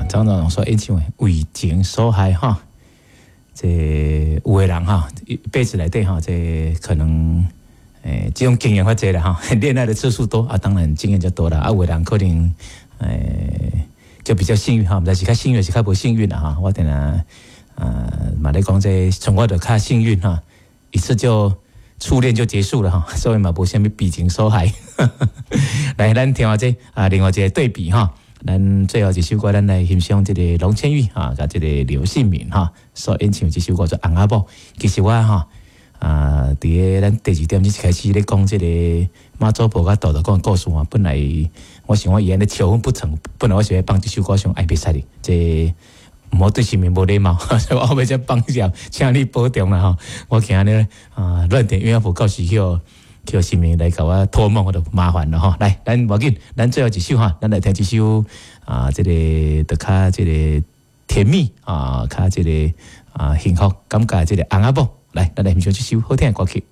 張長榮所演唱的《為情所害》哈。這有的人哈，一輩子內底哈，這可能這種經驗較濟啦哈，戀愛的次數多啊，當然經驗就多啦。啊，有的人可能就比較幸運哈，毋知是較幸運，是較無幸運啦哈。我定定啊嘛咧講這，像我就較幸運哈，一次就初戀就結束了哈，所以嘛無啥物為情所害。來，咱聽下這啊，另外一個對比哈。咱最後一首歌，咱來欣賞這個龍千玉哈，佮這個劉信敏哈所演唱這首歌做《翁仔某》。其實我哈啊，佇咧咱第二點鐘開始咧講這個媽祖婆佮杜道講的故事啊，本來我想我伊按呢求婚不成，本來我是欲放這首歌上愛袂使哩，這毋好對神明無禮貌，所以我後尾才放下，請你保重啦吼。我驚呢啊，亂點鴛鴦譜到時予神明來共我托夢，我就麻煩了吼。來，咱無要緊，咱最後一首哈，咱來聽這首啊，這個就較這個甜蜜啊，較這個啊幸福感覺這個翁仔某。來，咱來欣賞這首好聽的歌曲。